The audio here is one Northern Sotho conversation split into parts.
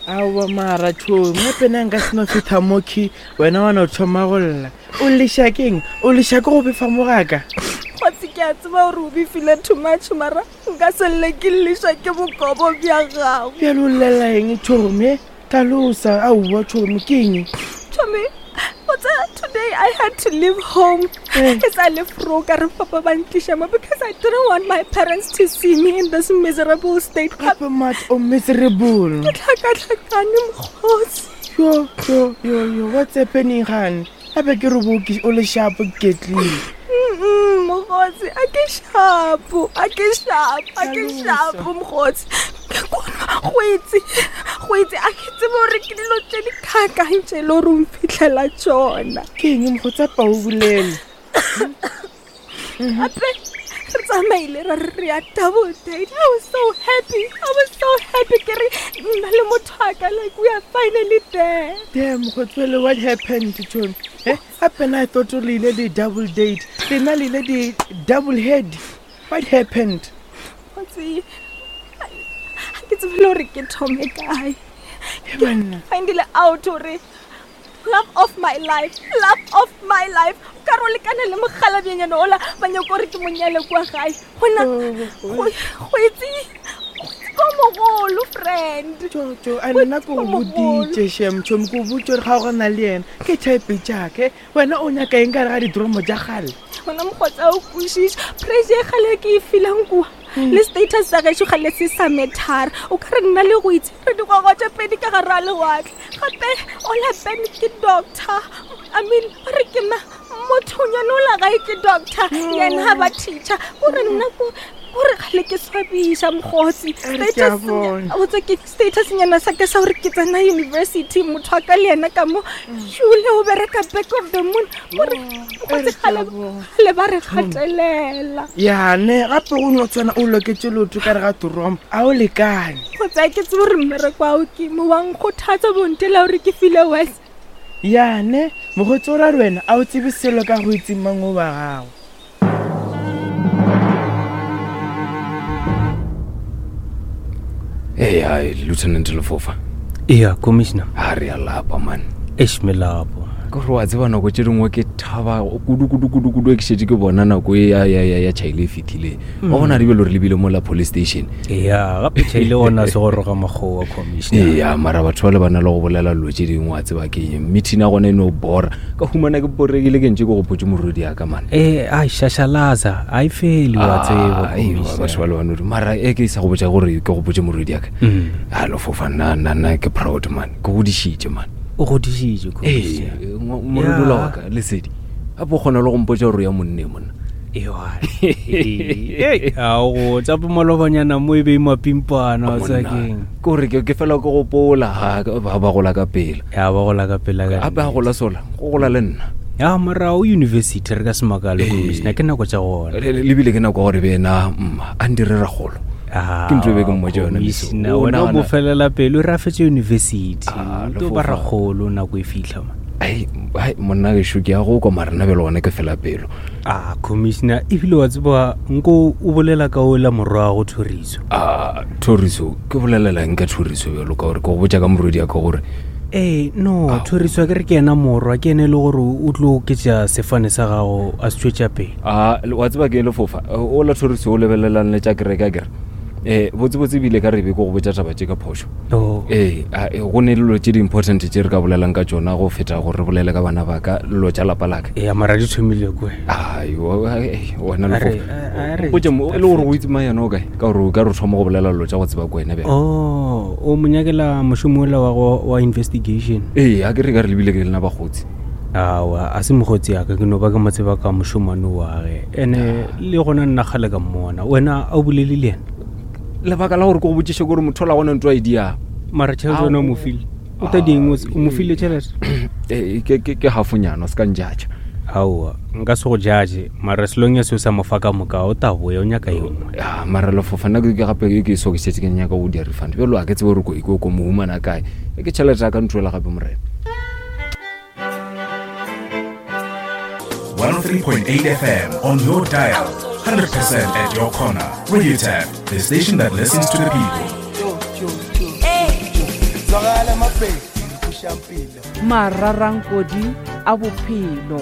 Aowa mara tšhomi, gape na nka se no fetha mokhi wena wa no thoma go lla. O leša keng? O leša ke go befa mo gaka? Kgotsi ke a tseba gore o befile too much mara nka se lle ke llišwa ke bokobo bja gago. Bjale o llela eng tšhomi? Hlalosa, aowa tšhomi ke eng? Tšhomi, o tseba today I had to leave home. Eh. Ke sa le fro ka re papa ba ntliša mo because I didn't want my parents to see me in this miserable state. Gape mat o miserable. Ke tlhakatlhakane mokgotsi. Yo, yo, yo, yo, what's happening gane? Gape ke re bo o le shapo ke ketlile. Mm, mokgotsi, a ke shapo, a ke shapo, a ke shapo mokgotsi. Ke kona go itse, go itse a ke tsebe gore ke dilo tše di kakang tše le gore o mphitlhela tšona. Ke eng mokgotsi a pa o bolele? Gape re tsamaile ra re re ya double date. I was so happy. I was so happy ke re nna le motho wa ka like we are finally there. Damn, mokgotsi what happened Tony? Eh, gape na I thought le ile di double date. Lena le ile di double head. What happened? Mokgotsi, ga ke tsebe le gore ke thome kae. He banna. Findile out gore love of my life, love of my life. O ka re o lekane le mokgalabjenyana ola ba nyako gore ke mo nyale kua gae. Gona go go itse go itse ko mogolo friend. Jo, jo, a nna ko go boditše shem tšhomi ko botše gore ga o gana le yena ke type jaake wena o nyaka eng ka re ga didromo tša gale gona mokgotsa o kwešiša pressure e gale ke e feelang kua le status sa gešo ga le se sa methara o ka re nna le go itse re digwagwa tša pedi ka gare a lewatle gape ola ben ke doctor i mean ba re ke ma mothonyane ola gae ke doctor yena ga ba teacher kore nna ko kore gale ke swabiša mokgotsi Re ke a bona. botsa ke status nyana sa ka sa gore ke tsena university motho wa ka le yena ka mo šule o bereka back of the moon gore mokgotsi gale gale ba re gatelela yane gape go no tshwana o loketse lotho ka re ga torompo a o lekane kgotsa ke tsebe gore mmereko ao ke mo wa nkgothatsa bontela gore ke file wes yane mokgotsi o ra re wena a o tsebe selo ka go itse mang o wa gago Hey, hi, Lieutenant Lefofa. Eya, Commissioner. A re a lapa, man. Eish, melapo. Ke gore wa tseba nako tše dingwe ke thaba kudu kudu kudu kudu ke šetše ke bona nako e ya ya ya ya chaile e fethile. Wa bona re bile re lebile mo la police station. Eya, gape chaile gona se goroga makgowa, Commissioner. Eya, mara batho ba le ba na le go bolela dilo tše dingwe wa tseba ke eng. Meeting ya gona e no bora. Ka humana ke boregile ke ntše ke gopotše morwedi ya ka man. Eh, ai shashalaza, a e fele wa tseba. Ah, aiwa, batho ba le ba no mara e ke sa go botša gore ke gopotše morwedi ya ka. A lofofa nna nna nna ke proud man. Ke godišitše man. O godišitše, Ee, Commissioner. morwedi ola wa ka lesedi. Gape o kgona le go mpotša gore o ya monneng monna. Ewa. Ee, a go tsa malobanyana mo e be e mapimpana wa tseba keng. Ke gore ke ke fela ke gopola ga ba ba gola ka pela. Ya ba gola ka pela ka. Gape a gola sola, go gola le nna. Ya mara o university re ka se makale Commissioner ke nako tša gona. Le le bile ke nako ya gore be ena mma a ndire ragolo. Ah, Ke ntho e be ke mmotša yona mesong. Commissioner, O wena o nagana- mo felela pelo re a fetše university. Ah, O tlo ba lefofa. ragolo nako e fihla man. Ai, ai, monna gešo ke ya go kwa mara nna bjale gona ke fela pelo. A commissioner ebile wa tseba nko o bolela ka ola morwago Thoriso. A Thoriso ke bolelela eng ka Thoriso bjalo ka gore ke go botša ka morwedi ya ka gore Ee, no, Thoriso a ke re ke yena morwa, ke ene e le gore o tlo oketša sefane sa gago a se tšwetša pele. A wa tseba ke lefofa ola Thoriso o lebelelang le tša kereke a kere. Eh botsebotse ebile ka re be ke go botša taba tše ka phošo. Oh. Ee, a, e, go ne dilo tše di-important tše re ka bolelang ka tšona go feta gore re bolele ka bana ba ka dilo tša lapa laka. Ee, mara di thomile kwe. Ayo, ai, wena A re- lefofa. a- a re- Mpotše mo, e le gore o itse mang yena o kae? Ka gore o ka re o thoma go bolela dilo tša go tseba ko wena bjale. Oh, o mo nyakela mošomo ola wa go wa investigation. Ee, a ke re ka re lebile ke lena bakgotsi. Aowa, a se mokgotsi ya ka, ke no ba ke mo tseba ka mošomane wa ge. Ene le gona nna kgale ka mmona. Wena a o bolele le yena? Lebaka la gore ke go botšiše ke gore motho ola gona ntho a e diang. Mara tšhelete yona o mo file. O ta di eng o mo file tšhelete? Ee, ke ke ke hafonyana, o se ka njudge. Aowa, nka se go judge, mara selong ya se o sa mo fa ka moka, o ta boya o nyaka ye nngwe. Ya, mara lefofa nna ke ke gape ke ke so ke šetše ke nyaka go dia refund. Bjalo a ke tsebe gore ko ko ko mo humana kae. Ke tšhelete ya ka ntho gape morena. 103.8 FM on your dial. 100% at your corner. Radio Tap, the station that listens to the people. Zwakala mapedi kushampilo. Mararankodi a bophelo.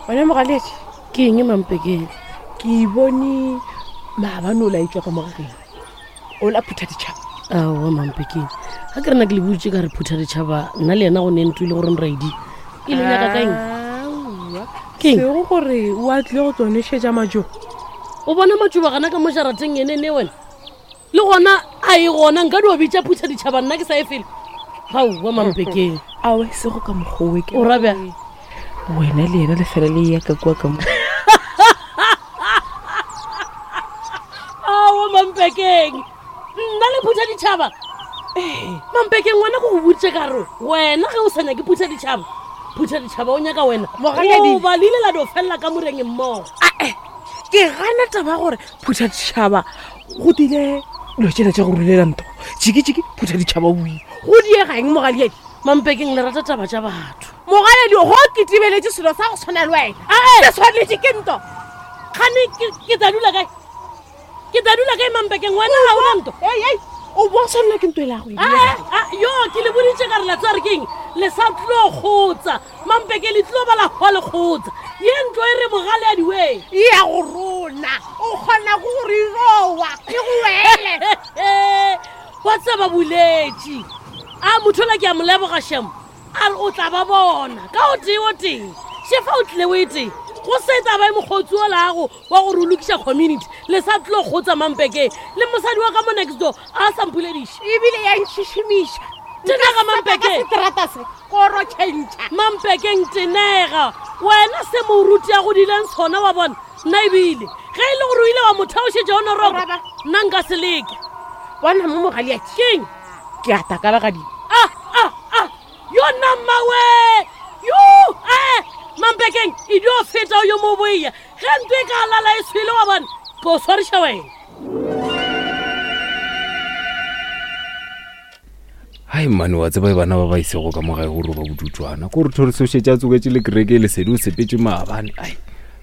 Wena mogaletše Ke eng mampekeng? Ke bone maabane o laetšwa ka mogageng. O la phutha ditšhaba. Aowa mampekeng. Ga ke rena ke le butše ka re phutha ditšhaba nna le yena go ne ntlo e le gore nraidi. E le nyaka ka eng? Aowa. Keng? Sego gore o a tlile go tlo nešetša majo. O bona matšoba gana ka mo jarateng ene ne wena? Le gona a e gona nka dio bitša phutha ditšhaba nna ke sa e fele. Aowa mampekeng. Aowa sego ka mokgowe ke. O ra bjang? Wena le yena le fela le ya ka kua ka mo. Aowa mampekeng. Nna le phutha ditšhaba. Mampekeng wena ko go boditše ka re wena ge o sa nyake phutha ditšhaba. Phutha ditšhaba o nyaka wena. Mogaledi. O ba le ile la dio felela ka moreng mmogo. Ae, ke gana taba ya gore phutha ditšhaba go tile dilo tšela tša go rulela ntho. Jiki-jiki phutha ditšhaba o ile. Go diega eng mogaledi? Mampekeng le rata taba tša batho. Mogaledi go ke tibeletše selo sa go tshwana le wena. Ae. Se swanetše ke nto. Kgane ke tla dula kae? Ke tla dula kae mampekeng wena ga ona nto? Ei, ei, o bo tshwanela ke nto e la go e Ae, a, yo ke le boditše ka re la tseba re keng le sa tlo kgotsa mampeke le tlo ba la hwa le kgotsa ye ntlo e re mogale a diweng e ya go rona o kgona go re rowa e go wele wa tseba boletše a motho ola ke a mo leboga shemo a re o tla ba bona ka o tee o tee shefa o tlile o e tee go se taba e mokgotsi o lago wa gore o lokiša community le sa tlo kgotsa mampekeng le mosadi wa ka mo next door a sa mpolediše ebile ya ntšhišimiša Tenega, Mampeke. seterata se koro tšhentšha mampekeng tenega wena se moruti a godileng sona wa bona nna ebile ge e le gore o ile wa mo theošetša o noroko Raba. nna nka se leke bona mo mogaliatši keng ke a takala gadimo a a a yo nna mmawe yo ee mampekeng e dio feta o yo mo boia ge ntlo e ka lala e swele wa bona ke o swariša wena Hai mane wa tseba e bana ba ba isego ka mo gae gore ba bodutswana ko re thore sošetše a tsoketše le kereke lesedi o sepetše maabane ai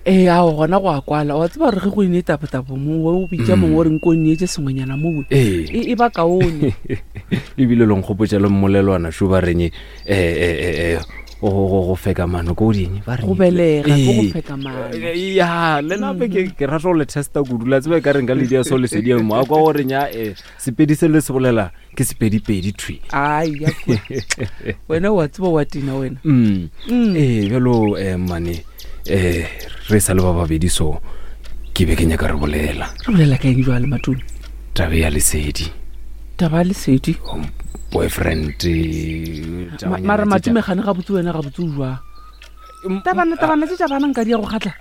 ee ao gona go a kwala wa tseba gore ge go ine tapotabo mongwe o bitša mongwe o reng ko nneetse sengwenyana mowe Ee. e ba kaone ebile lo nkgopotša le mmolelwana šo ba reng go feka mano ko ding ba reng Go belega, ke go Ee. feka mano. ya le nape ke rata go le testa kudu la tseba e ka reng ka ledia so lesedi mo a kwa gore nya sepedi se le se bolela ke sepedipedi thwi ai ya kua. wena wa tseba wa tina wena ee bjalo mane re sa le ba babedi so ke be ke nyaka re bolela re bolela ka eng jwale matome tabe ya lesedi taba ya lesedi Oh, boyfriend mara matome gane gabotse wena gabotse o jwang tabana tabana tse tša bana nka di ya go kgatla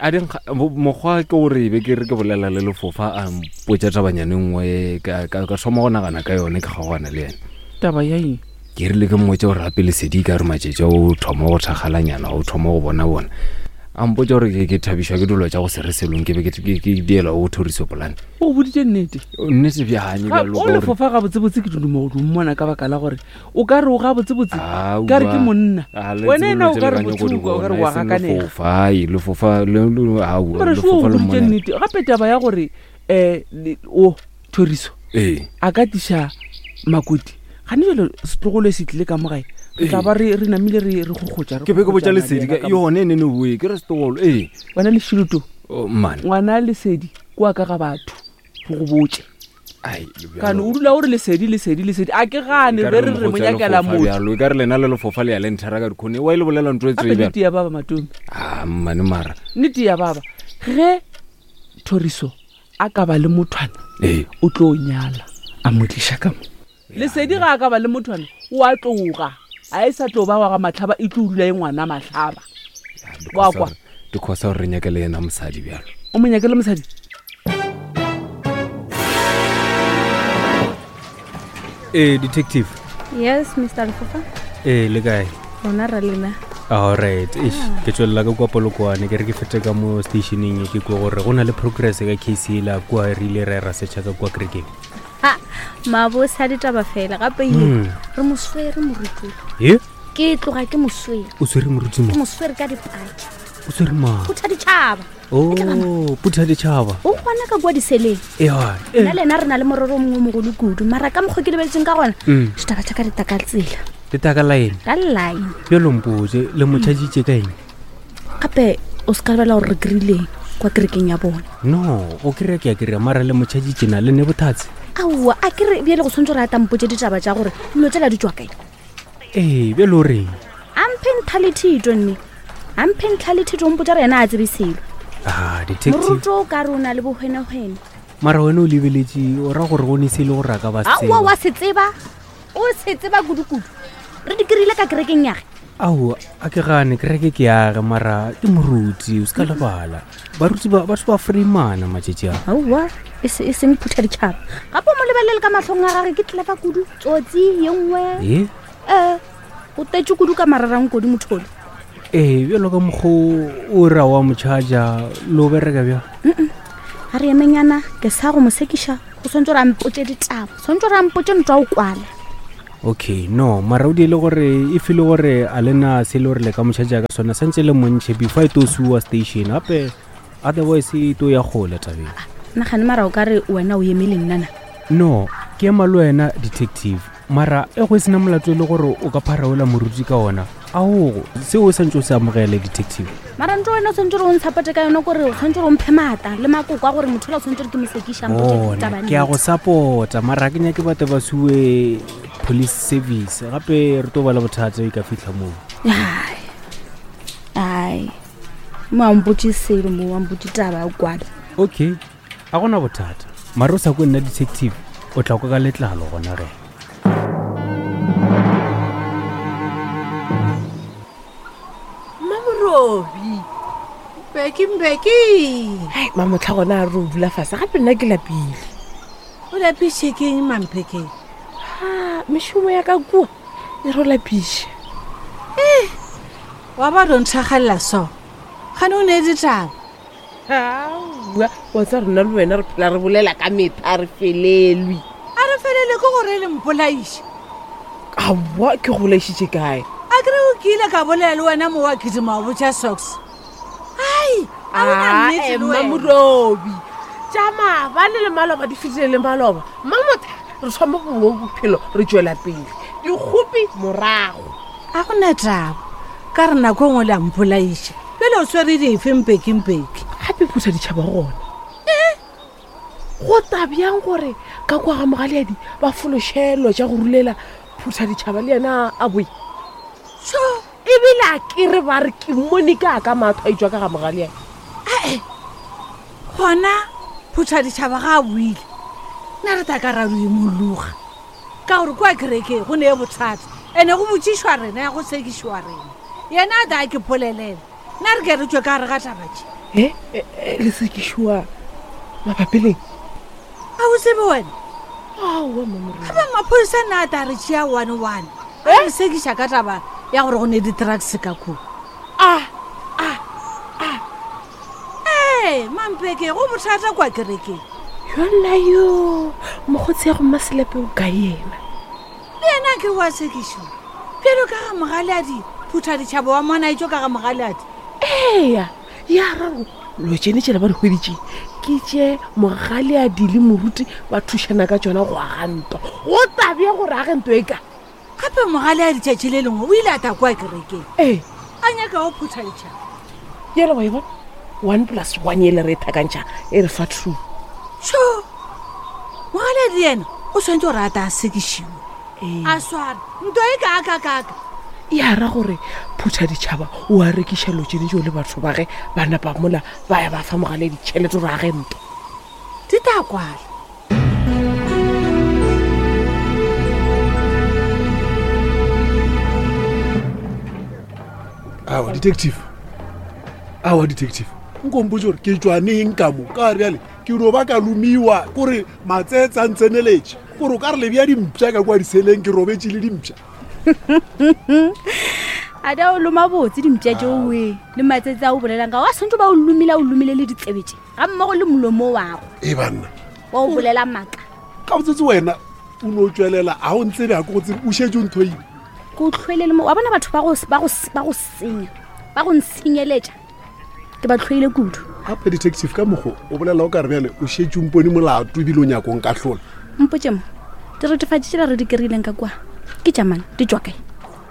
a di mokgwa ke gore be ke re ke bolela le lefofa a mpotša tabanyane nngwe ka thoma go nagana ka yone ke kgaogana le yena taba ya eng ke rile ke mmotse gore gape lesedi ka re matšatši a o thoma go thakgalanyana o thoma go bona bona a mpotsa gore ke thabišwa ke dilo tša go se re selong ke be ke diela o thoriso polane o boditše nnete nnete bjanye Ga- bjalo o ka gore- lefofa gabotsebotse ke duduma go mmona ka baka la gore o ka re o gabotsebotse Aowa. ka re ke monna A, le wena tsebe ena dilo o tse ka re le ka nyako di bothuka o ka re bona, wa e seng gakanega lefofa, ai, lefofa aowa, mara seo o lefofa le boditše mmonela. nnete gape taba ya gore um o thoriso ee a ka tliša makoti gane jalo setlogolo se tlile ka mogae re tla ba re re namile re re gogotša re ke be ke botša gogotšana le lesedi yena ka ka mo. yone e nene boe ke re setogolo ee wena lešiloto Oh, man ngwana lesedi kua ka ga batho re go botse Ai, kane o dula o re lesedi lesedi lesedi a ke gane Ekare be re re mo mokgotsi a nyakela lefofa motho bjalo e ka re lena le lefofa le ya le nthera ka dikhone wa e le bolela ntho e gape tsee bjalo nnete ya baba matome a mmane mara nnete ya baba ge thoriso a ka ba le mothwana ee o tlo nyala a mo tliša ka mo lesedi ga a ka ba le mothwana o a tloga a e sa tlo ba wa ga matlhaba e tlo dula e ngwana matlhaba Wa kwa. dikgosa gore re nyake le yena mosadi bjalo o mo nyake le mosadi ee detective yes mr lefofa ee le kae rona ra lena alright eish ke tswelela ka kua polokwane ke re ke fete ka mo stationeng e ke kua gore go na le progress ka case ela kua re ile ra ra setšha ka kua kerekeng ha mabose a ditaba fela gape ye re mo swere morutulo e ke tloga ke mo swere o swere moruti ke mo mo swere ka dipaki O swere mang? Phutha ditšhaba. O phutha ditšhaba. O gona ka kua diseleng. Ewa. Nna le ena re na le morero o mongwe o mogolo kudu, mara ka mokgwa ke lebeletseng ka gona, ditaba tša ka di taka tsela. Di taka line. Ka line. Bjalo mpotse, le mo tšhatšitše ka eng? Gape o se ka lebala gore re kry-ileng kwa kerekeng ya bona. No, go kry-a ke a kry-a, mara le mo tšhatšitše na le ne bothatse? Aowa, a ke re bjale go tshwanetse gore a tampotse ditaba tša gore dilo tšela di tšwa kae. Ee, bjale o reng? A mphe ntlha le thito nne. A mphe ntlha le thito o mpotsa gore yena a tsebe selo. Ah, detective. Moruto o ka re o na le bohwenehwene. Mara wena o lebeletše o ra gore go ne se e le gore a ka ba se Aowa, wa se tseba. O se tseba kudu-kudu. Re di kry-ile ka kerekeng yage. Aowa, a ke gane kereke ke yage mara ke moruti, o se ka lebala. Baruti ba batho ba freemana matšatši a. Aowa, e se e seng phutha ditšhaba. Gape o mo lebelele ka mahlong a gage ke tlelefa kudu, tsotsi ye nngwe. E? Ee, o tletše kudu ka mararankodi mothole. Ee, bjalo ka mokgo o ra wa mo charger le o bereka bjang? A re emenyana, ke sa go mo sekiša, o swantse gore a mpotše ditaba, swantse gore a mpotše ntwa o kwala. Okay, no, mara o diele gore e file gore a le na se le gore le ka mo charger ka sona, santse le montšhe before e to suwa station, gape otherwise e to ya kgole tabeng. Nagane mara o ka re wena o eme le nna na? No, ke ema le wena detective, mara e go e sena molato e le gore o ka pharaola moruti ka ona, aogo seo o santse o se amogele detective. Mara ntho wena o tshwanetse gore o ntshapote ka yone kore o tshwanetse gore o mphe maata le makoko a gore motho ola o tshwanetse gore ke mo sekiša, mpotše Bona, ditaba ke a go nnete. support-a mara ke nyake batho ba suwe police service gape re tlo ba le bothata e ka fitlha moo. Ai, ai, mo a mpotše selo mo a mpotše taba ya kwala. Okay, a gona bothata mara o sa kwe nna detective o tla kwa ka letlalo gona ge. Mmamorobi. Mbeki, Mbeki. Hai, mamotlha gona a re o dula fase gape nna ke lapile. O lapiše ke eng Mamphekeng? Ha, mešomo ya ka kua e re o lapiše. Eh, wa ba ro nthagalela so. Gane o ne ditaba. Aowa, wa tsa rena le wena re phela re bolela ka metha re felelwe. A re felele ke gore le mpolaiše. Aowa, ke go bolaišitše kae? A kere o kile ka bolela le wena mo wa kidima wa botša socks. Ai, a o na Ah, nnete le wena. Mmamodobi. Tša maabane le maloba di fetile le maloba. Mmamotha, re thoma bongwe bophelo re tšwela pele. Dikgopi morago. A go na taba. Ka re nako e nngwe le a mpolaiša. Bjale o swere dife mpeki-mpeki? Gape phutha ditšhaba gona. Eh? Go ta bjang gore ka kwa ga mogaleadi ba fološelo tša go rulela phutha ditšhaba le yena a boe? Tšho! Ebile a ke re ba re ke mmone ka ka matho a itswa ka ga mogaleadi. Ae, gona phutha ditšhaba ga a boile, nna re tla ka ra imologa. Ka gore kua kerekeng go ne bothata, ene go botšišwa rena ya go sekišwa rena. Yena a tla ke polelela, nna re ke re tšwe ka gare ga taba tše. E, e, e, le sekišwa mabapi leng? A o tsebe wena? Aowa, Mmamorena. Gape maphodisa nna a tla re tšea one one. A re sekiša ka taba ya gore go ne di-drugs ka kua. A, a, a. Ee, Mampeke, go bothata kwa kerekeng. Yona yo, mokgotsi ya go Mmaselepe o kae yena? Le yena ke wa sekišo. Bjalo ka ga mogaleadi, phutha ditšhaba wa mona etšo ka ga mogaleadi. Eya, ya raro lo tšene tšela ba di hweditše ke tše mogaleadi le moruti ba thušana ka tšona go aga ntwa. Go tabja gore age ntwa e ka. Gape mogaleadi tšatši le lengwe o ile a tla kwa kerekeng. Ee. A nyaka go phutha ditšhaba. Yela wa e bona? 1 plus 1 ele re e thakantšha e re fa 2. Tšho! Mogaleadi yena o swanetše gore a ta a sekišiwe. Ee. A sware ntwa e kaakakaaka. Ya ra gore phutha ditšhaba o a rekiša lo tšene tšeo le batho ba ge ba napa mola ba ya ba fa mogaleadi tšhelete gore a ge ntwa. Di tla kwala. Aowa, detective. Aowa, detective. Nko mpotše gore ke tšwa neng ka mo? Ka bjale ke no ba ka lomiwa kore matsetse a ntseneletše. Kore o ka re le bea dimpša ka kwa diseleng ke robetše le dimpša. A da o loma botse dimpša tšeo we le matsetse a o bolelang ka wa swantse ba o lomile a o lomile le ditsebe tše ga mmogo le molomo wago. E banna. Wa o bolela maaka. Ka botsetse wena o no tšwelela a o ntsebe a ke go tsebe o šetše o nthoile. Ke o tlhoile le mo wa bona batho ba go ba go ba go senya ba go ntshenyeletša. Ke ba tlhoile kudu. Gape detective ka mokgo o bolela o ka re bjale o šetše o mpone molato ebile o nyako nkahlola. Mpotše mo, diretefatši tšela re di kry-ileng ka kua ke tša mang? Di tšwa kae?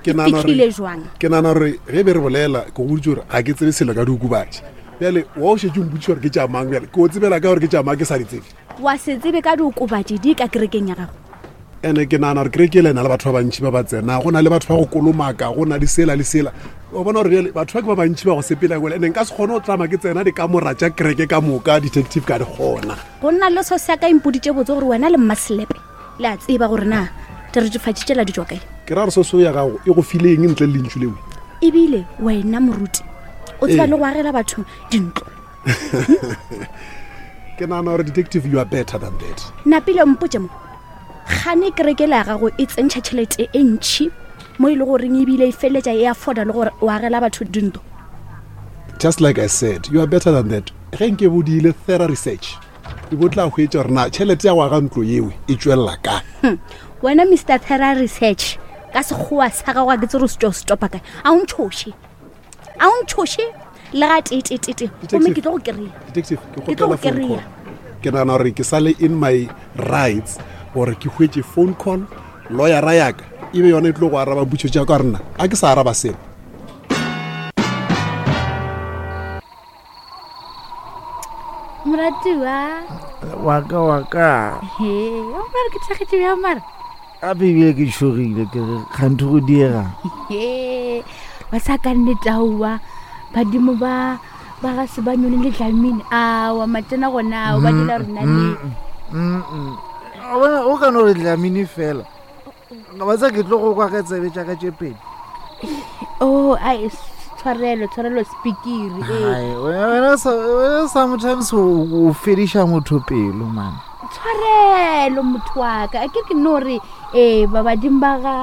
Ke Di nagana fihlile gore jwang? ke nagana gore ge be re bolela ke go boditše gore ga ke tsebe selo ka diokobatši. Bjale wa o šetše o mpotšiša gore ke tša mang bjale ke o tsebela ka gore ke tša mang ke sa di tsebe. Wa se tsebe ka diokobatši di ka kerekeng ya gago? Ene ke nagana gore kereke ele na le batho ba bantšhi ba ba tsena go na le batho ba go kolomaka go na le sela le sela o bona gore bjale batho ba ke ba bantšhi ba go sepela kwele ene nka se kgone go tlama ke tsena dikamora tša kereke ka moka detective ka di kgona. Go nna le so sa ka impoditše botse gore wena le mmaselepe le a tseba gore na diretefatši tšela di tšwa kae. Ke ra gore soso ya gago e go file eng ntle le lentšu leo? Ebile wena moruti o tseba Ee. le go agela batho dintlo. Ke nagana gore detective you are better than that. Napile mpotše mo gane kereke le ya gago e tsentšha tšhelete e ntšhi mo e le goreng ebile e feleletša e afforda le gore o agela batho dintlo. Just like I said, you are better than that. Ge nke bo diile thorough research, e bo tla hwetša gore na tšhelete ya go aga ntlo yeo e tšwelela kae. Wena Mr Thorough Research ka sekgowa sa gago a ke tsere o se tšwa o se topa kae. A o ntšhoše. A o ntšhoše le ga tetetete gomme ke tlo go kry-a. Detective, ke Ke tlo kgopela go phone kry-a. call. Ke nagana gore ke sale in my rights gore ke hwetše phone call, lawyera yaka e be yona e tlo go araba potšo tša ka rena a ke sa araba selo. Moratiwa. Waka waka. He, o mara ke thakgetše bjang mara? Gape ebile ke tšhogile ke re kganthe go diega. He, ba sa ka nnete aowa badimo ba ba ga se ba nyone le Dlamini. Aowa matena gona ao ba dira rena le. O bona o ka no re Dlamini fela. Ba tsa ke tlo go kwa ka tsebe tša ka tše pedi. Oh, ai tshwarelo, tshwarelo speakiri. Hai, wena wena sometimes o fediša motho pelo man. Tshwarelo motho wa ka. A ke ke no re eh ba badimo ba ga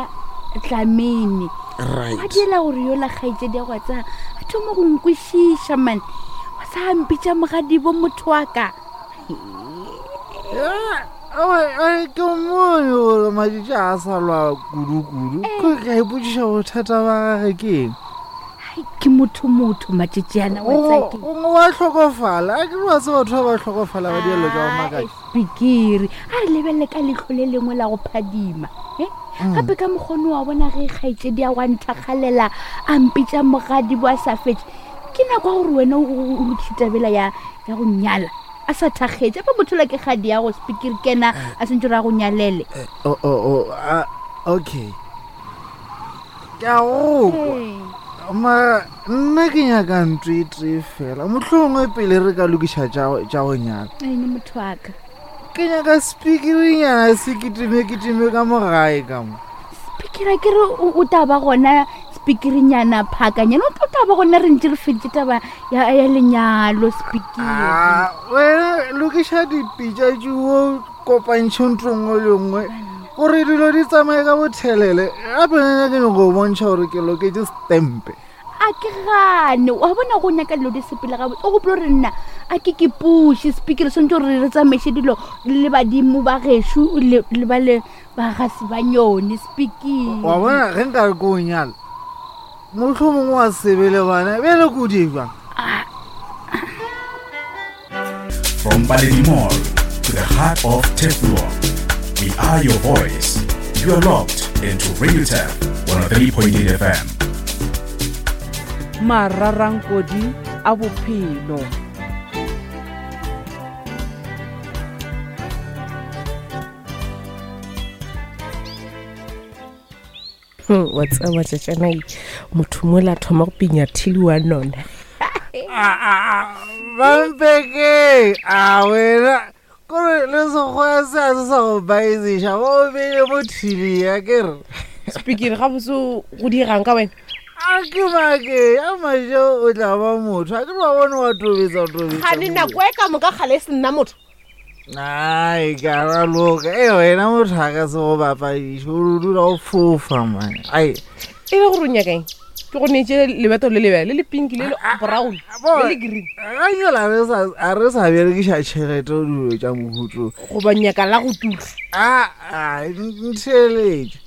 Dlamini. Right. Ba dira gore yola kgaetšedi ya go tsa a thoma go nkwešiša man. Wa sa mpitša mogadibo motho wa ka. Ai, ke mmone gore matšatši a sa lwa kudu-kudu ko ka ipotšiša bothata ba gage ke eng. Ke motho motho matšatši ana wa tseba ke. Gongwe wa hlokofala a ke re wa tseba batho ba ba hlokofala ba dielo tša go makatša. Pikiri a re lebelele ka leihlo le lengwe la go phadima e gape ka mokgone wa bona ge kgaetšedi ya go a nthakgalela a mpitša mogadi bo a sa fetše ke nako ya gore wena o lokiše tabela ya go nyala a sa thakgetše ape motho la ke kgadi ya go spikiri kena a sentse gore a go nyalele. Oh, oh, oh, ah, okay ke a go kwa mara nna ke nyaka ntho e tee fela mohlomongwe pele re ka lokiša tša go nyala. Ene motho wa ka. Ke nyaka spikirinyana se kitime kitime ka mo gae ka mo. Spikira ke re o tla ba gona spikirinyana phakanyana o tla ba gona re ntse re feditše taba ya lenyalo spikiri. Ah, wena lokiša dipitša tšeo kopantšhe ntho nngwe le nngwe gore dilo di tsamaye ka bothelele gape nna ke nyako go bontšha gore ke loketše stempe. A ke gane wa bona go nyaka dilo di sepele gabotse o gopola gore nna a ke ke puše spikiri swantse gore re tsamaiše dilo le badimo ba gešo le ba le ba ga se ba nyone spikiri. Wa bona ge nka re ko o nyala mohlomongwe wa sebe le bana bjale ko di jwang. From Paledi Mall to the heart of Turfloop, we are your voice. You are locked into Radio Turf 103.8 FM. Mararankodi a bophelo. Wa tseba tšatšana motho mola thoma go pinya thili wa nona. Bampeke a wena kore le sekgowa se a se sa go baeziša ba o beile mo thili ya ke re. Spikiri gabotse go diegang ka wena? A ke make a majo o tla ba motho a ke re wa bone wa tobetsa tobetsa. Gane nako e ka moka gale e se nna motho. Ai, ka raloka e wena motho a ka se go bapadiše o dula o fofa man. Ai. E le gore o nyakang ke go neetse lebeto le lebele le le pink le le brown le le green. Ga nyola a re sa berekiša tšhelete o dilo tša mohuto. Goba nyaka la go tura. A ntheeletše.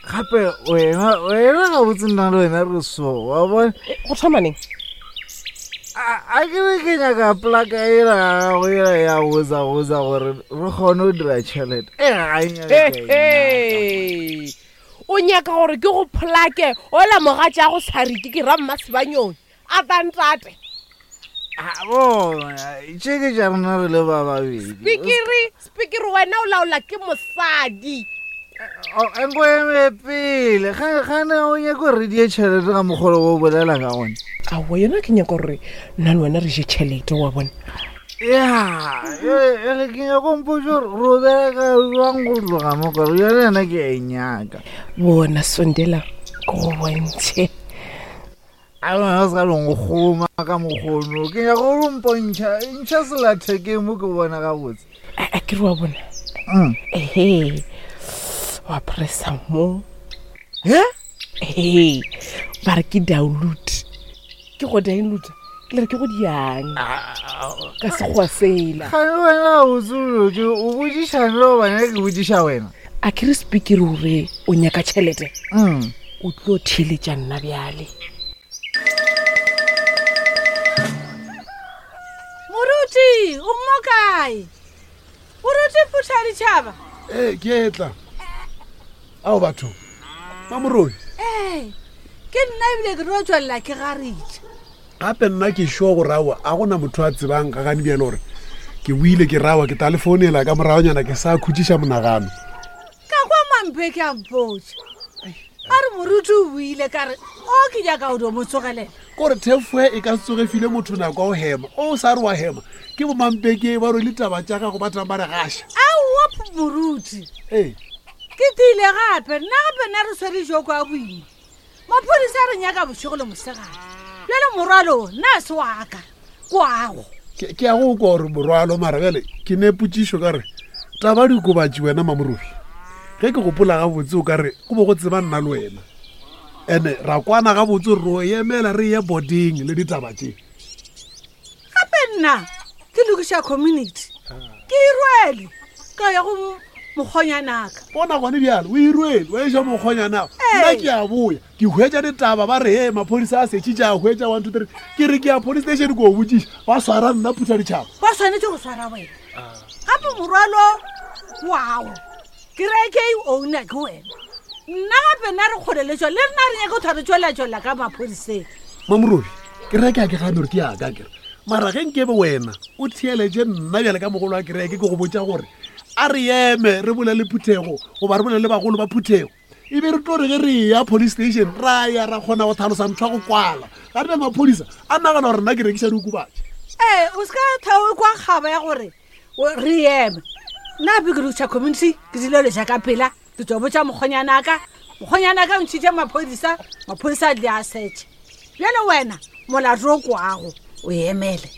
Gape wena wena gabotse nna le wena re so wa bona. Go thoma neng? A ke re ke nyaka plaka ela ya gago ela ya goza goza gore re kgone go dira tšhelete. E ga e nyake ka e Hey, o nyaka gore ke go pholake ola mogatša go sariki ke ra mmasebanyong a tantate Ah, bona tše ke tša rena re le ba babedi spikiri spikiri wena o laola ke mosadi nko eme pele gane o nyake gore re die tšhelete ga mokgolo o bolela ka gone aowa yona ke nyaka gore nna le wena re je tšhelete wa bona ya ele ke nyako mpotse gore re o bereka jwang go tloga mo kore yone yena ke a e nyaka bona sondela ke go bontšhe a lona se ka leng go kgoma ka mokgono ke nyaka gore mpontšha ntšha selathekeng mo ke bona gabotse a ke re wa bona ehe wa pressa mo he ehe ba re ke download ke go download le re ke go diang ka sekgowa sela gane wena o tsolotse o botšišane le gobane ke botšiša wena a ke re speaker gore o nyaka tšhelete o tlo theeletša nna bjale moruti o mo kae moruti phutha ditšhaba ee ke etla ao batho mamoroi ee ke nna ebile ke tlo tswelela ke garitša gape nna ke sure gore aowa a gona motho a tsebang ga gane bjale gore ke buile ke rawa ke tla le founela ka moragonyana ke sa khutšiša monagano ka kwa mampe ke a mpotša a re moruti o buile ka re o ke nyaka o dio mo tsogelela kore thefoe e ka se tsoge file motho nako ya go hema o sa re wa hema ke bomampeke ba rwele taba tša gago ba tlang ba re gaša aowa moruti ee ke tiile gape nna gape nna re swere joko a boima maphodisa a re nyaka bošego le mosegare bjale morwalo nna se waka kwago ke ya go kwa gore morwalo mara bjale ke ne potšišo ka re taba dikobatši wena mamorobi ge ke gopola gabotse o ka re go bo go tseba nna le wena ene ra kwana gabotse gore ro emela re ye boarding le ditaba tše gape nna ke lokiša community ke e rwele ka ya go mokgonyanaka bona gone bjalo o e rwele wa eša mokgonyanako nna ke a boya ke hwetša ditaba ba re e maphodisa a setšitše a hwetša one two three ke re ke ya police station ko o botšiša ba swara nna phutha ditšhaba ba swanetše go swara wena gape morwalo wao kereke e owner ke wena nna gape nna re kgoleletšwa le rena re nyake go thwa re tšwelatšwelela ka maphodiseng mamorobi kereke a ke gane gore ke yaka kere mara ge nkebe wena o theeletše nna bjale ka mogolo wa kereke ke go botša gore a re eme re bolele phuthego goba re bolele bagolo ba phuthego e be re tlo re ge re ya police station ra ya ra kgona go tlhalosa ntho ya go kwala ga re be maphodisa a nagana gore nna ke rekiša diokobatši ee o se ka thao kwa kgaba ya gore re eme nna gape ke lokiša community ke dilo leša ka pela ke tswa botša mokgonyanaka mokgonyanaka o ntšhitše maphodisa maphodisa a di a setšhe bjale wena molato o kwago o emele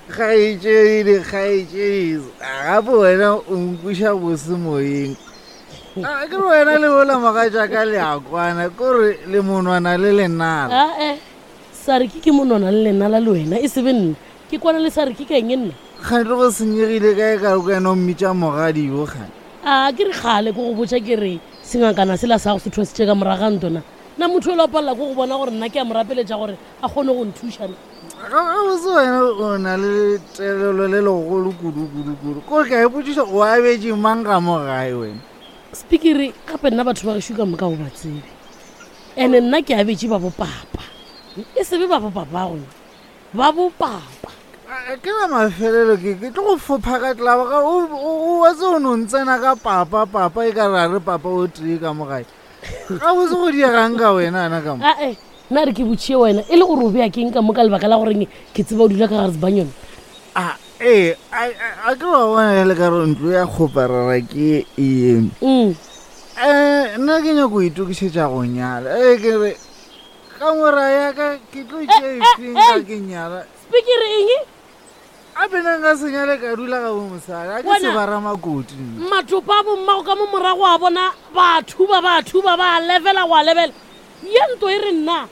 kgaetšedi kgaetšedi gape wena o nkwiša bose moyeng A, ke re wena le ola mogatša ka leakwana kore le monwana le lenala ae sariki ke monwana le lenala le wena e sebe nna ke kwana le sariki ka eng e nna kgante go senyegile kae ka re wena o mmitša mogadi yo kgane a ke re kgale ko go botša ke re sengakana sela sa go se thwasitše ka moraga ntona na motho o la palela ko go bona gore nna ke a mo rapeletša gore a kgone go nthuša na gabotse wena o na le telelo le legolo kudu-kudu-kudu kore ke a ipotšiša o abetše mang ga mo gae wena speakere gape nna batho ba gešo ka moka go ba tsebe ene nna ke abetše ba bopapa e sebe ba bopapago ba bopapa ke la mafelelo ke ke tlo go fopha ka tlaba ga o wa tse o no ntsena ka papa papa e ka ra re papa o tee ka mo gae gabotse go diegang ka wena ana ka mo ae nna re ke botšhie wena e le gore o bea keng ka mo ka lebaka la goreng ke tseba o dula ka gare sebanyone a ee a ke wa bona le ka re ntlo ya kgoparara ke eno um nna ke nyako itokišetša go nyala ee ke re ka mora yaka ke tlo tšea efeng ga ke nyala spikere eng a pena nka senyale ka dula ga bo mosadi a ke Wena- sebara makoti nna. matopa a bommago ka mo morago a bona ba thuba ba thuba ba levela go a lebela ye nto e re nna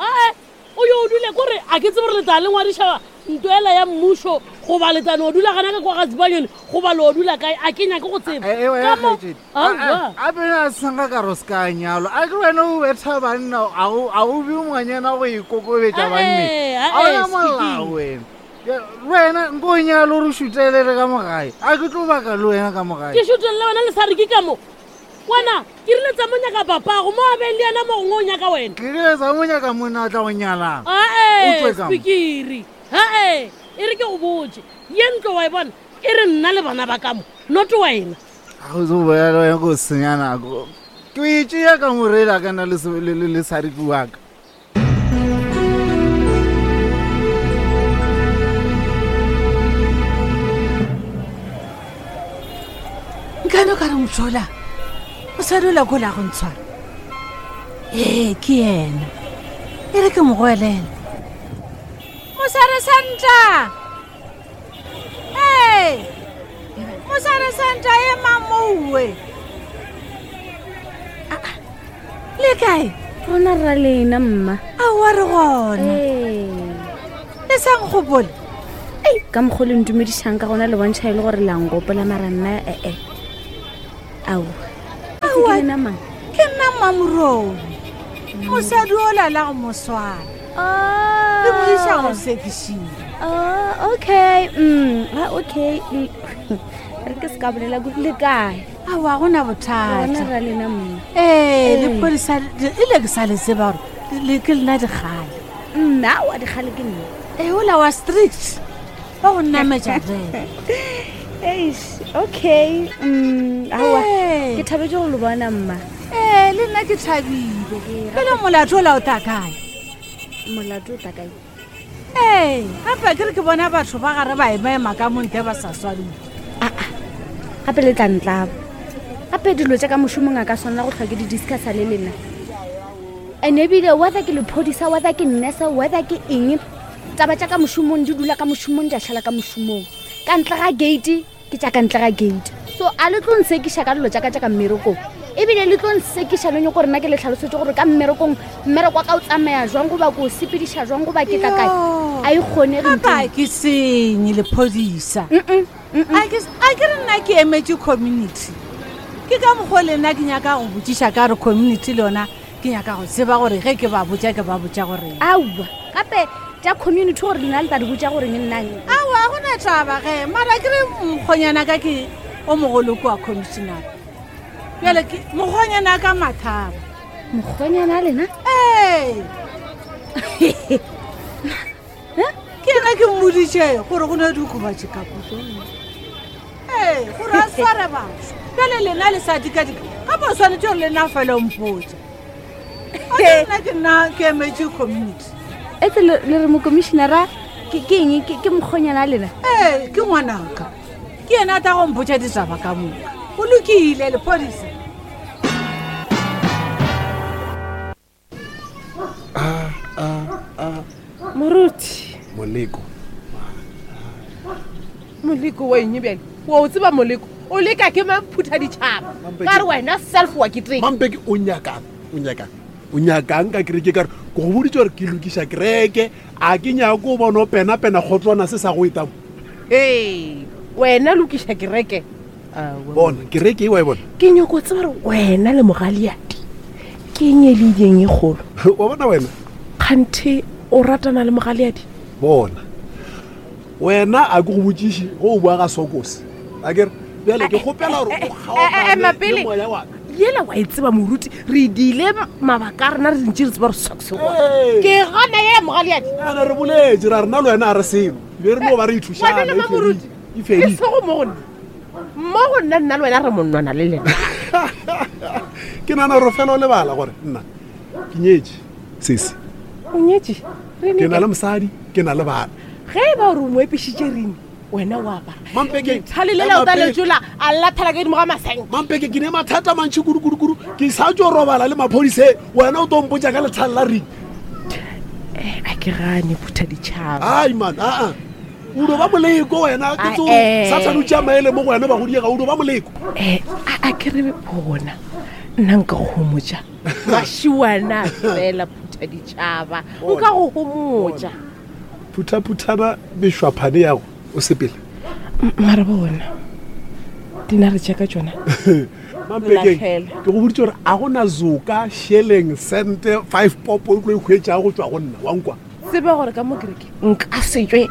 ae o yo o dule kore a ke tsebe gore letla le ngwadiša nto ela ya mmušo Goba le tla no dula gana ka kwa ga Zibanyoni goba lo dula kae a ke nyake go tseba. Eh, eh, Ka mo Aowa. a pele a senga ka re se ka nyalo a ke wena o betha banna a o a o be ngwanyana go ikokobetša banne Eh, a ona eh, molao speaking. wena Ya, le wena nko o nyalo re šutelele ka mogae a ke tlo baka le wena ka mogae Ke šutelele wena le sa re ke ka mo. Wena ke rile tsa mo nyaka papago mo a beng le yena mo gongwe o nyaka wena. Ke rile tsa mo nyaka monna a tla go nyalang. O Ae, tswe ka mo. spikiri. Hae, e re ke go botse. Ye ntlo wa e bona e re nna le bana ba ka mo, not wena. A go tso boya le wena ko senya nako ke o e tšea ka morela ka nna le se- le- le le sariki wa ka nkane o ka re mothola mosadi o la ko la go ntshwara ee ke yena e re ke mo goelela mosare santa ee mosare santa e mamouwe le kae rona ra lena mma aowa re gona le sa nkgopole ei ka mokgwa le ntumedišang ka gona le bontšha e le gore la nkopola mara nna ee ao Aowa, ke lena mang ke nna mmamorobi mosadi o lala go moswana le mo isa go sekišile Oh, okay ah, okay re ke se ka bolela kudu le kae aowa gona bothata Rona ra lena mma ee lepodisa ile ke sa le tseba gore le ke lena dikgale nna wa dikgale ke nna ee ola wa strict ba go nametša fela Eish, okay aowa ke thabetse go le bona mma ee le nna ke thabile pele molato ola o ta kae molato o ta kae ee gape ke re ke bona batho ba gare ba emaema ka montle ba sa swariwe gape le tla ntlaba gape dilo tša ka mošomong a ka swanela go tlhwa ke di discussa le lena and ebile whether ke lephodisa whether ke nurse whether ke eng taba tša ka mošomong di dula ka mošomong di a šala ka mošomong ka ntle ga gate ke tša ka ntle ga gate so a le tlo nsekiša ka dilo tša ka tša ka mmerekong ebile le tlo nsekiša le nyoko rena ke le tlhalosetse gore ka mmerekong mmereko wa ka o tsamaya jwang goba ko o sepediša jwang goba ke tla kae a e kgonege gape a ke senye lephodisa a ke a ke re nna ke emetse community ke ka mokgwa le nna ke nyaka go botšiša ka re community le yona ke nyaka go tseba gore ge ke ba botša ke ba botša gore aowa gape tša community gore lena le tla di botša goreng nnang aowa gona taba ge mara ke re mokgonyana ka ke o mogolo kua commissioner bjale ke mokgonyana ka mathaba mokgonyana a lena ee ke ena ke mmoditše gore go ne diokobatše ka ee gore a sware batho bjale lena le sa dikadika gape o swanetse gore lena fela o mpotsa nna ke nna ke emetse community etse le le re mokomišenara ke ke eng ke ke mokgonyana a lena ee ke ngwanaka ke yena a tla go mpotsa ditaba ka moka o lokile lepodisa moruti moleko moleko wa eng bjale wa o tseba moleko o leka ke mamphutha ditšhaba ka re wena self wa ke teng mampeke o nyakang o nyakang o nyakang ka kereke ka re ke go boditse gore ke lokiša kereke a ke nyako o bona o pena-pena kgotlwana se sa go etamo ee wena lokiša kereke bona kereke e wa e bona ke nyako tseba gore wena le mogaliadi ke eng e le ideng e kgolo wa bona wena kganthe o ratana le mogaliadi bona wena a ke go botšiše go o boa ga sokose a kere bjale ke kgopela gore o kgaogane ema le pele. moya wa ka yela wa e tseba moruti re dile mabaka a rena re ntse re tseba gore socks Ee. ke gana ye mogaliadi ana re boletse ra rena le wena a re selo be re no ba re wa ithušana bona Mamoruti? e e fedile sego mo go nna mo go nna nna le wena re monnwana le lena ke nana gore fela o lebala gore nna ke nyetse sese o nyetse ke na le mosadi ke na le bana ge e ba gore o mo epišitše reng wena o apara Mampeke, thale lela o ema ta pele. letsola a lathela ka godimo ga maseng mampeke ke ne mathata mantšhi kudu-kudu-kudu ke sa tso robala le maphodise wena o to mpotsa ka lethale la ring a ke gane phutha ditšhaba ai man aa o do ba moleko wena ke tso Ah, eh. sathane o tšea maele mo go wena bagodiega o do ba moleko um a ke re bona nna nka go homotša mašiwana fela phutha ditšhaba nka go homotša phutha-phuthana mešwaphane yago O sepele. Mara bona dinare tša ka tšona. Mampekeng, Latlhela. ke go boditse gore a gona zoka sheleng sente five popo o tlo e hwetšago go tšwa go nna wa nkwa. Tseba gore ka mo kereke nka setswe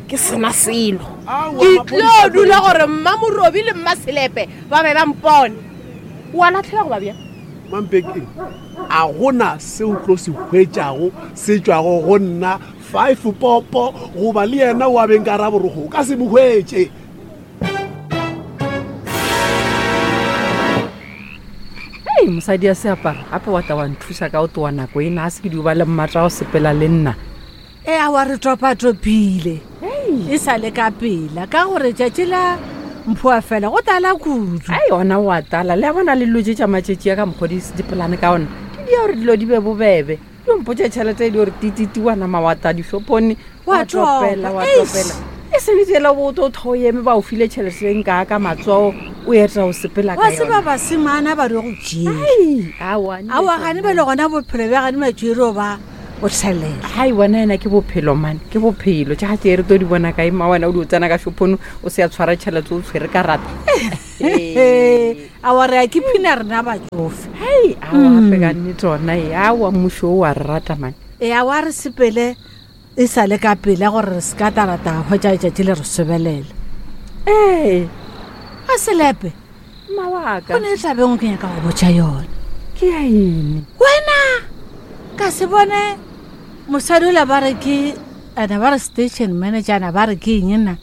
ke sena selo. Aowa, Ke maphodisa tlo dula gore mma Morobi le mma Selepe ba be ba mpone. Wa latlhela goba bjang? Mampekeng, a gona se o tlo se hwetšago se tšwago go nna five popo goba le yena wa beng ka raborogo o ka se mo hwetše. Ei, mosadi ya seaparo gape wa tla wa nthuša ka o towa nako ena a se ke di ba le mmatla go sepela le nna. E a wa re topatopile e sa le ka pela ka gore tšatši la mphoa fela go tala kudu. Ai ona wa tala le a bona le dilo tše tša matšatši a ka mokgwa dipolane ka ona di dia gore dilo di be bobebe. Di mpotša tšhelete e di gore tititi wa nama wa ta dishopone Wa topela wa topa, eish. topela. E seng tsela bo to tho eme ba o file tšhelete e nka ka matsogo o eta o sepela ka Wa tseba yona. basemana ba re go tšea. Ai, aowa, nne Aowa gane bjale gona bophelo bja gane matšwere ba o thelela. Hai wena ena ke bophelo mane ke bophelo tša tše re to di bona kae ma wena o di o tsena ka shopong o se ya tshwara tšhelete o tshwere ka rata. Aowa re a ke phina rena batsofe. Hei aowa gape ka nnete ona e aowa mmušo o wa re rata mane. E aowa re sepele e sa le ka pela gore re se ka tarata hwetša letšatši le re sobelela. Ee. A selepe. Mma wa ka. Go ne e tlabeng ke nyaka go botša yona. Ke ya eng? Wena ka se bone mosadi ola ba re ke ana ba re station manager ana ba re ke eng nna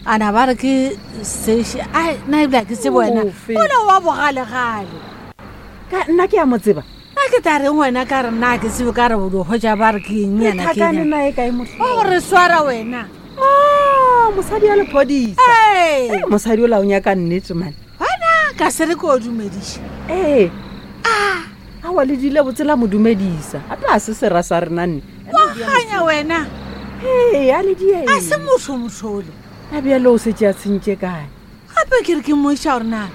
ana ba re ke station ai nna ebile ha ke tsebe wena Ofe? ola wa bogalegale. Ka nna ke a mo tseba. Nna ke tla reng wena ka re nna ha ke tsebe ka re o di hwetša ba re ke eng Re yana ke thakane eng. nae kae mohlolo? Wa go re swara wena. Ah, mosadi ya lephodisa. Ee. Ee, mosadi ola o nyaka nnete mane. Wena ka se re ke o dumediša. Ee. Ah, aowa le dile botse la mo dumedisa. Gape a se sera sa rena nne. Wa ganya wena. Ee, a le die. A se motho mothole. A bjale o setse a tshentše kae? Gape ke re ke moiša gore na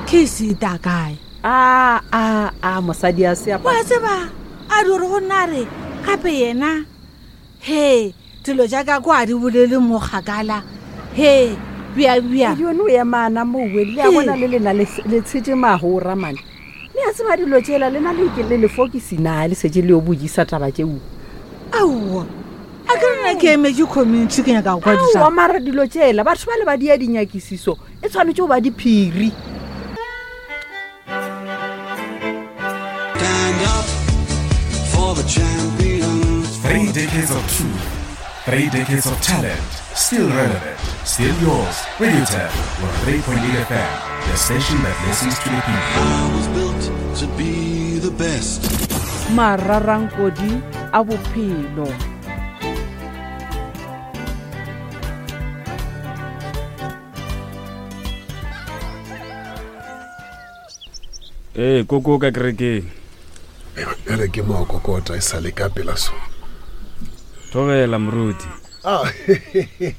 case e ta kae. A, a, a, mosadi a se Wa tseba a di gore go nna re gape yena he dilo tša ka kwa di bolele mo kgakala he bja bja. Yone o emana mowe le a bona le lena le le tshetše magora mane. Le a tseba dilo tšela le na le ke le lefokisi na le setse le yo bojisa taba tšeo. Aowa a ke rena ke emetše community ke nyaka go kwa Aowa ditaba. mara dilo tšela batho ba le ba dia dinyakisiso e tshwanetse go ba diphiri. Stand up for the champions. Three decades of truth, three decades of talent, still relevant, still yours. Radio Tap 103.8 FM, the station that listens to the people. I was built to be the best. Mararankodi a bophelo. Ee, koko ka kerekeng. Bjale ke mo a kokota e sa le ka pela so. Thobela moruti. Ah,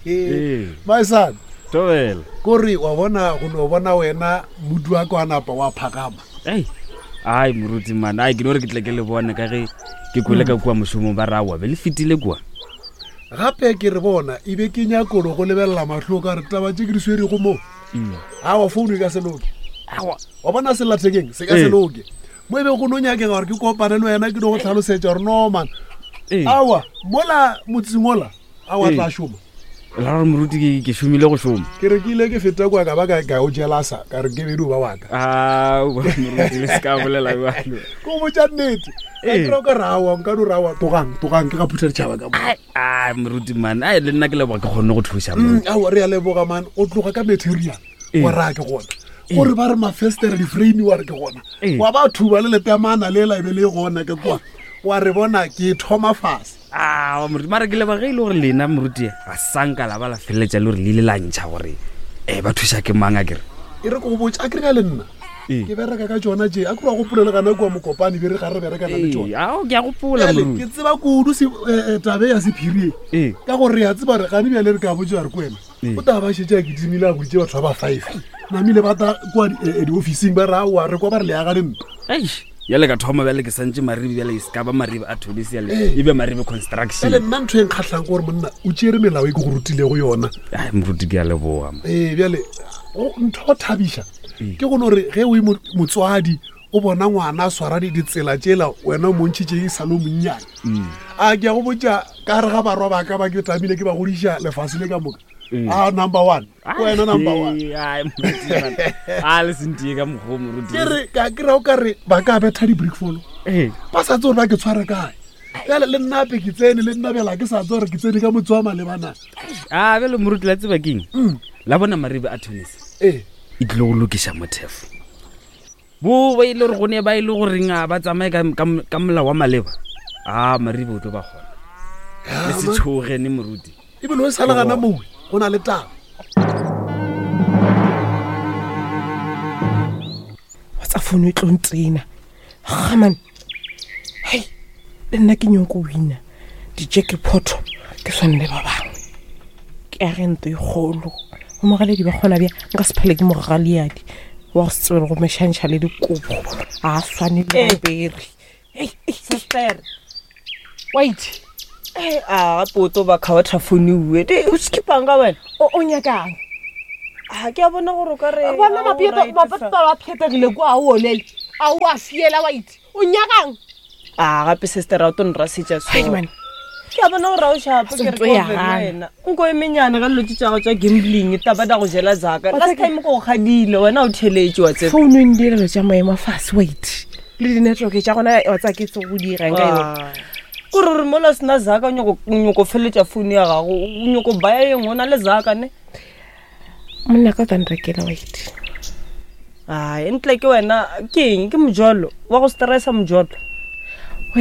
Ee. Maesane. Thobela. Kore wa bona go no bona wena modu wa ka wa napa wa phagama. Ei. Ai moruti man, ai ke no re ke tle ke le bone ka ge ke kwele ka kua mošomong ba ra wa be le fetile kua. Gape ke re bona e be ke nyakolo go lebelela mahlo ka re taba tše ke di swerego mo. Aowa founu e ka se loke. Aowa. Wa bona sellathekeng se ka se Ee. loke. Mo e be go no nyakega gore ke kopane le wena ke no go tlhalosetša gore no man. Aowa mola motseng ola aowa Ee. tla šoma. La gore moruti ke ke šomile go šoma. Ke re ke ile ke feta kua ka ba ka ka o jelasa ka re ke bedi o ba wa ka. Aowa moruti le se ka bolela jalo. Ke go botša nnete. Ka Ee. kry-a o ka re aowa nka no re aowa togang togang ke ga phutha ditšhaba ka mo. Ai moruti man, ai le nna ke leboga ke kgonne go thuša moruti. Aowa re a leboga man o tloga ka material Ee. wa raya ke gona. Gore ba re mafestere di-frame wa re ke gona. Ee. Wa ba thuba le lepeamana lela e be le gona ke kwa. Wa re bona ke thoma fase. Aowa moruti mara ke leboga ge e le gore lena moruti ga sanka la ba la feleletša le gore le ile la ntšha gore um ba thuša ke mang a kere. E re ke go botša a kere ka le nna. Ee. Ke bereka ka tšona tše a kere wa gopola le gana kua Mokopane be re ga re berekana le Ee, tšona. ao ke a gopola Bjale, moruti. ke tseba kudu tabe ya sephiri e. Ka gore re a tseba gore gane bjale re ka botša re ko wena. Ee. O tla ba šetše a kitimile a boditše batho ba ba five. Namile ba tla kua diofising ba re aowa re kwa ba re le aga dintwa. Bjale ka thoma bjale ke santše Maribe bjale e se ka ba Maribe a Tobis bjale Ee. e be Maribe construction. Bjale nna ntho e nkgatlhang ke gore monna o tšeere melao e ke go rutilego yona. Ai, moruti ke a leboga. ma. Ee, bjale ntho go thabiša ke go no re ge o e motswadi o bona ngwana a swara ditsela tšela wena o montšhitše e sa le o monnyane. A ke ya go botša ka gare ga barwa ba ka ba ke tlamile ke ba godiša lefase le ka moka. A number one. Ke wena number one. Ai, moruti, man. A le sentie ka mokgwa o moruti. Ke re ka kry-a o ka re ba ka betha di-brick follow. Ba sa tse gore ba ke tshware kae. Bjale le nna ape ke tsene le nna bjale ga ke sa tse gore ke tsene ka motse wa malebana. A bjale moruti la tseba keng? La bona Maribe a Tunis. Ee. E tlile go lokiša mothefo. Bo ba ile gore go ne ba ile goreng a ba tsamaye ka molao wa maleba. A Maribe o tlo ba kgona. Le se tshoge ne moruti. Ebile o sa le gana mowe go na le taba. Wa tsa fono e tlo ntsena. Gaman. Hei, le nna ke nyoko wina di-jackpot ke swane le ba bangwe. Ke age ntlo e kgolo. Bo mogaledi ba kgona bja nka se phele ke mogaleadi wa go se tsebe go mešantšha le dikobo. A swane le bere. Sister. Wait. Eh, a gape o tlo ba kgaotha phone ue. Di o skipang ka wena? O nyakang? A ke a bona gore o ka re Bona a o right mapeta fa. ba phetegile kwa a o olele. A o a fiela wait. O nyakang? A gape sister a o tlo nrasetša so. Ai, man. Ke a bona gore a o shapo ke re Ntho ke ya ofe le gana. wena. Nko e menyane ka dilo tše tša gago tša gambling taba da go jela zaka. Wa Last tseba- time ko go kgadile wena o theletše wa tseba. Founu e ndirelo tša maemo a fase wait. Le di-network tša gona wa tsaya ke tse go dirang ka yone. Ah. Kore gore mola o sena zaka o nyako feletša founu ya gago o nyako baya e nngwe o na le zaka ne. Monna ka o tla nrekela wait. Ai ntle ke wena ke eng ke mojolo wa go stressa mojolo.